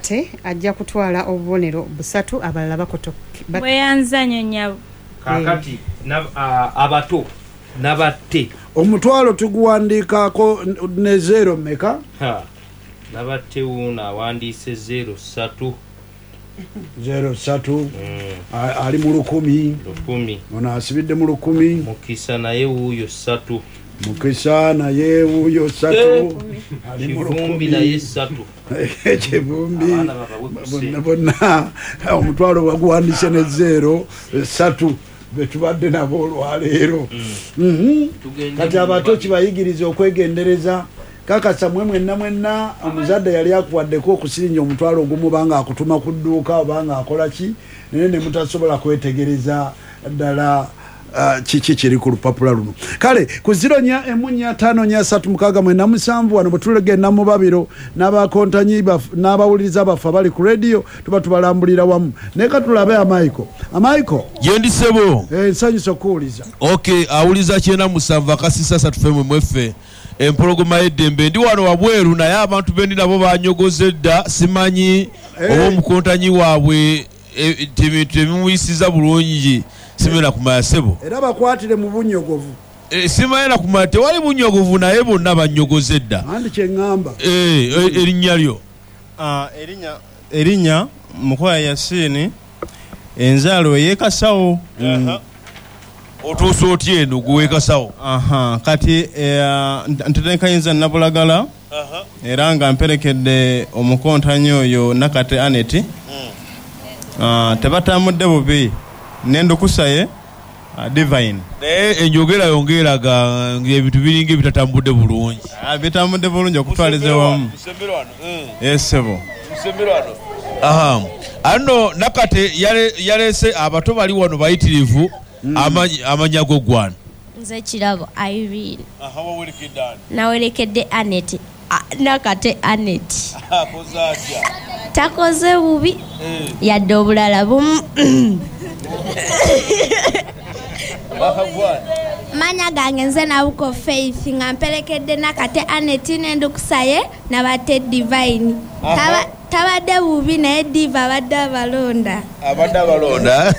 Nakate ajja kutwala obubonero busatu abalala bakotoke. Bweyanza nyo nyabo. Kaakati abato Nabatte. Omutwalo tuguwandiikako ne zeero mmeka? Ha, Nabatte wuuno awandiise zeero ssatu. Zeero ssatu. Ali mu lukumi. 1000. Ono asibidde mu lukumi. Mukisa naye wuuyo ssatu. Mukisa naye wuuyo ssatu. Ali mu Kivumbi lukumi. naye ssatu. Kivumbi. Abaana babawe ku Bonna ssente. bonna omutwalo baguwandiise ne zeero ssatu betubadde nabo olwaleero. Tugende Kati mu abato babiri. kibayigiriza okwegendereza. Kakasa mwe mwenna mwenna omuzadde yali akuwaddeko okusirinja omutwalo ogumu obanga akutuma ku dduuka obanga akola ki, naye ne mutasobola kwetegereza ddala kiki kiri ku lupapula luno. Kale ku ziro nnya emu nnya ttaano nnya ssatu mukaaga mwenda musanvu wano bwe tulegenda mu babiro n'abakontanyi n'abawuliriza baffe abali ku rediyo tuba tubalambulira wamu. Naye ka tulabe Amaiko. Amaiko. Gyendi ssebo. Nsanyusa okuwuliza. Okay, awuliza 97 akasisa ssatu ffe mwe mweffe. Empologoma y'eddembe ndi wano wabweru naye abantu be ndi nabo banyogoze dda simanyi oba omukontanyi waabwe tebimuyisiza bulungi. Simanyi na kumanya ssebo. Era bakwatire mu bunyogovu. Simanyi na kumanya tewali bunyogovu naye bonna banyogoze dda. Andi kye ŋŋamba. Erinnya lyo? Erinnya Mukwaya Yasini, enzaalo ey'e Kasawo. Otuuse otya eno gwe w'e Kasawo? Kati ntetenkanyizza Nabulagala era nga mperekedde omukontanyi oyo Nakate Annet. Tebatambudde bubi n'endukusa ye Divine. Naye enjogera yo ng'eraga ng'ebintu biringa ebitatambudde bulungi. Bitambudde bulungi okutwaliza awamu. Ssebo. Ano Nakate yaleese abato bali wano bayitirivu amanya go gwani? Nze Kirabo Irene. Wawerekedde ani? Nawerekedde Annet. Nakate Annet. Akoze atya? Takoze bubi. Yadde obulala bumu. Manya gange nze Nabuko Faith nga mperekedde Nakate Annet n'endukusa ye Nabate Divine. Tabadde bubi naye Diva abadde abalonda. Abadde abalonda.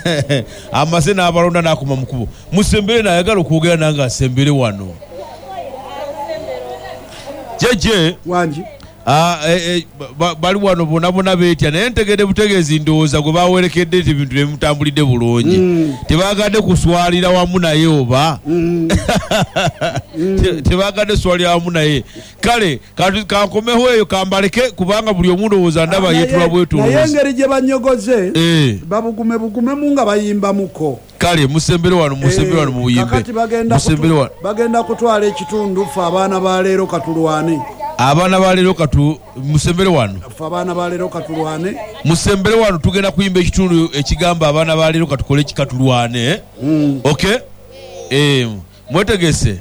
Amaze n'abalonda n'akoma mu kkubo. Musembere n'ayagala okwogera nange asembere wano. Jeje. Wangi. Bali wano bonna bonna beetya naye ntegedde butegeezi ndowooza gwe bawerekedde nti ebintu bimutambulidde bulungi. Tebaagadde kuswalira wamu naye oba? Tebaagadde kuswalira wamu naye. Kale kankomeho eyo kambaleke kubanga buli omu ndowooza ndaba yeetula bwetoloozi. Naye engeri gye banyogoze, babugume bugumemu nga bayimbamuko. Kale musembere wano, musembere wano mu buyimbe. Kakati Musembere wano. bagenda kutwala ekitundu ffe abaana ba leero katulwane. Abaana ba leero katu musembere wano. Ffe abaana ba leero katulwane. Musembere wano tugenda kuyimba ekitundu ekigamba abaana ba leero katukole ki katulwane. Okay? Mwetegese.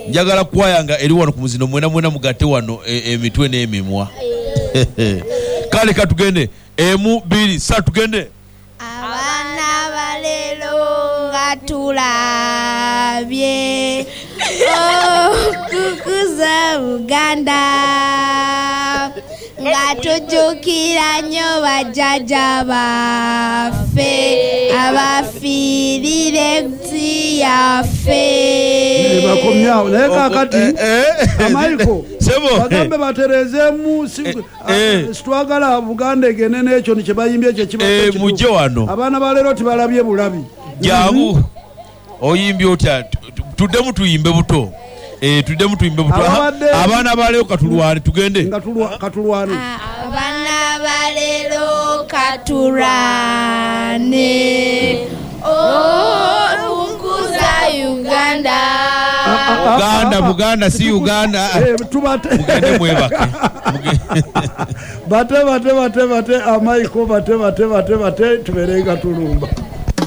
Njagala kwaya nga eri wano ku muzino mwena mwena mugatte wano emitwe n'emimwa. Kale katugende. Emu, bbiri, ssatu tugende. Abaana ba leero nga tulabye okukuza Buganda nga tujjukira nnyo bajjajja baffe abafiirira ensi yaffe. Bakomyawo naye kaakati Amaiko, Sebo. bagambe batereezeemu, sitwagala Buganda egende n'ekyo kye bayimbye ekyo ekibadde kituufu. Mujje wano. Abaana ba leero tibalabye bulabi. Jangu. Oyimbye otya? Tuddemu tuyimbe buto. Tuddemu tuyimbe buto. Abaana ba leero katulwane, tugende. Nga katulwane. Abaana ba leero katulwane. Okukuza Uganda. Buganda, Buganda, si Uganda. Mugende mwebake. Bate, bate, bate, bate, Amaiko, bate, bate, bate, bate, tubeere nga tulumba.